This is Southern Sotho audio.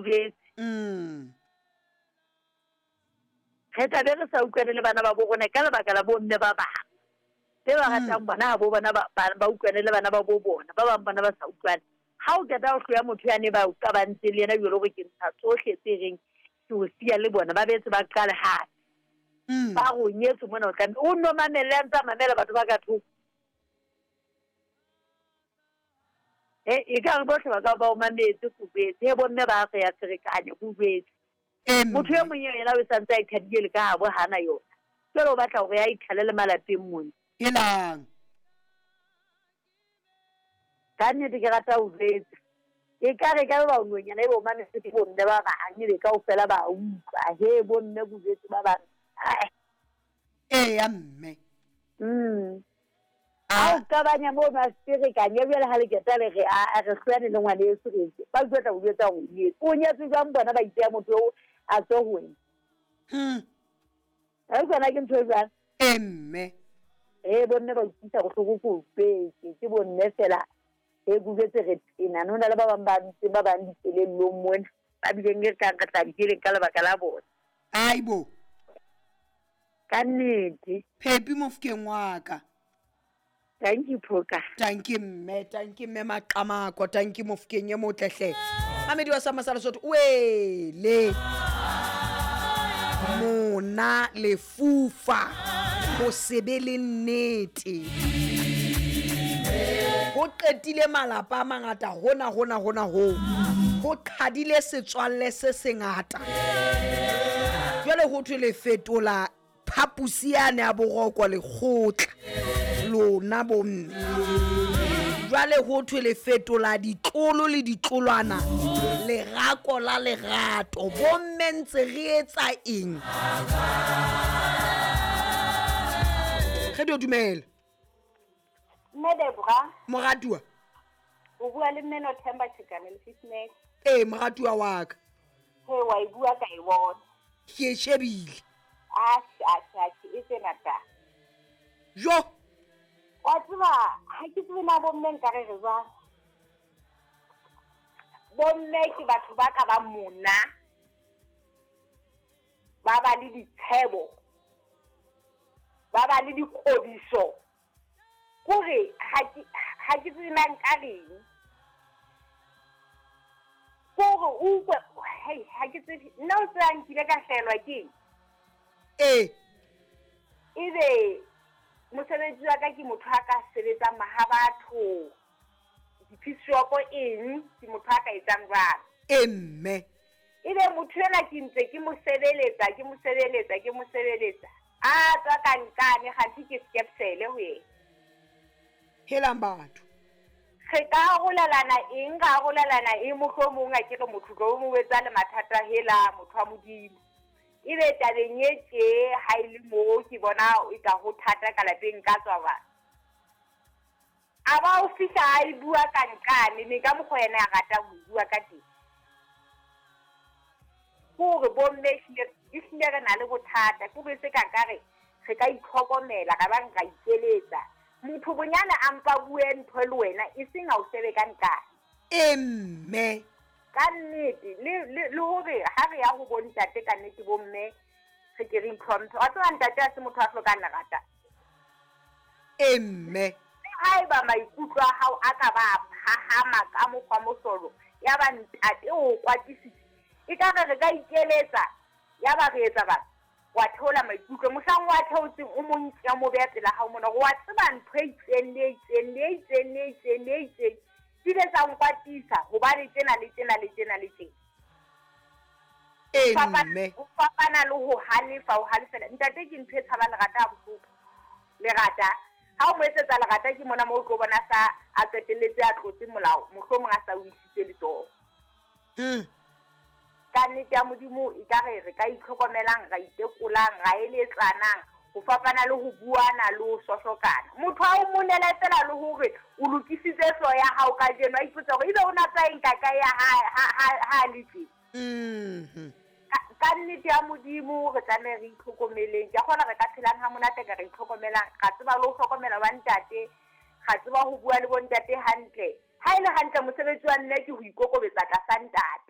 Jwetse. Mm. Re tla be re sa utlwane le bana ba bo rona ka lebaka la bomme ba bang. Be ba ratang bona ha bo bona ba, ba, ba utlwane le bana ba bo bona. Ba bang bona ba sa utlwane. Ha o qeta ho hloya motho yane ba o qabantseng le yena jwalo hore ke ntsha tsohle tse reng ke o siya le bona, ba betse ba qale hape. Mm. Ba re o nyetswe mona o tlameha o nno mamelle a ntse a mamela batho ba ka thoko. E, e ka re bohle ba ka ba o mametse ko jwetse. He bomme ba re ya ferekanya ko jwetse. Ee, Motho e mme. mong eo yena o santse a ithabile le ka habo hana yona. Jwale o batla hore a ithalele malapeng mona. Helang. Ka nnete ke rata ho jwetsa. E ka re ka ba nonyana ebe o mametse ke bomme ba bang ebe kaofela ba utlwa. He bomme ko jwetse ba bang. Ai. Eya mme. Mm. Ha o qabanya mono a ferekanya jwale ha le qeta le re a re hloyane le ngwaneso re etse. Ba tlo tla o jwetsa hore o nyetswe. O nyetswe jwang bona ba ipeha motho eo a tswe ho wena. Hmm. Ha e tsona ke ntho e jwang? Ee mme. Ee bomme ba utlwisa bohloko ko jwetse. Ke bomme fela e ke jwetse re tena. Ho na le ba bang ba ntseng ba bang dikelellong mona. Ba bileng e kang re tla dikeleng ka lebaka la bona. Aibo. Ka nnete. Phepi mofokeng wa ka. Thank you Phoka. Tanki mme, tanki mme Maqamako, tanki mofokeng e motle hle. Mamedi wa Sama sa Lesotho, wele. Mona lefufa ho se be le nnete. Ho qetile malapa a mangata hona hona hona ho. Ho qhadile setswalle se sengata. Jwale ho thwe le fetola phaposi yane ya boroko lekgotla lona bomme. Jwale ho thwe le fetola ditlolo le ditlolwana lerako la lerato. Bomme ntse re etsa eng? Re dio dumela. Mme Debra. Moratuwa. O bua le mme Nothemba Chikane le Fitness. Ee, moratuwa wa ka. He wa e bua ka e bona. Ke e shebile. Atjhe, atjhe, atjhe, e tsena ta. Jo. Wa tseba, ha ke tsebe na bomme nka re re jwang. Bomme ke batho ba ka ba mona. Ba ba le ditshebo. Ba ba le dikgodiso. Kore ha ke tsebe na nka reng. Kore o utlwe, hei, ha ke tsebe. Nna o tseba nkile ka hlahelwa ke eng? Ee. Ebe mosebetsi wa ka ke motho a ka sebetsang mahabatho, di-piece shop eng, ke motho a ka etsang jwalo. Ee mme. Ebe motho enwa ke ntse ke mo sebeletsa, ke mo sebeletsa, ke mo sebeletsa. A tswa ka nkane, kganthe ke skepsele ho yena. Helang batho. Re ka arolelana eng, ra arolelana eng, mohlomong a ke re motho tlo mo etsa le mathata hela motho wa Modimo. Ebe tabeng e tje ha e le moo ke bona e ka ho thata ka lapeng ka tswa ba. A ba o fihla a e bua ka nqane, mme ka mokgwa yena a rata ho bua ka teng. Hore bomme ehlile re na le bothata, ke hore se ka ka re re ka itlhokomela, ra ba ra ikeletsa. Motho bonyane a mpa bue ntho le wena, e seng a o shebe ka nqane. Ee mme. Ka nnete, le hore ha re ya ho bontate ka nnete bomme re ke re itlhomphe. Wa tseba ntate ha se motho a hlokang lerata. Ee mme. Le haeba maikutlo a hao a ka ba a phahama ka mokgwa mohlolo, ya ba ntate o kwatisitse. E ka re re ka ikeletsa, ya ba re etsa ba wa theola maikutlo. Mohlang wa theotseng o mo nke o mo beha pela hao mona, wa tseba ntho e itseng le e itseng le e itseng le e itseng le e itseng. Di ile tsa nkwatisa hobane tjena le tjena le tjena le tjena. Ee mme. Ho fapana le ho halefa, ho halefela. Ntate ke ntho e tshabang lerata ha bohloko. Lerata. Ha o mo etsetsa lerata ke mona moo o tlo bona sa a qetelletse a tlotse molao, mohlomong a sa o isitse letsoho. Ka nnete ya Modimo e ka re re ka itlhokomelang, ra itekolang, ra eletsanang, ho fapana le ho buana le ho sohlokana. Motho a o monele fela le hore o lokisitse hlooho ya hao kajeno, a ipotsa hore ebe o na tsa eng ka kae ya ha le tje. Ka nnete ya Modimo re tlameha re itlhokomeleng. Ke a kgona re ka phelang ha monate ka re itlhokomelang, ra tseba le ho hlokomela ba ntate, ra tseba ho bua le bo ntate hantle. Ha e le hantle mosebetsi wa mme ke ho ikokobetsa tlasa ntate.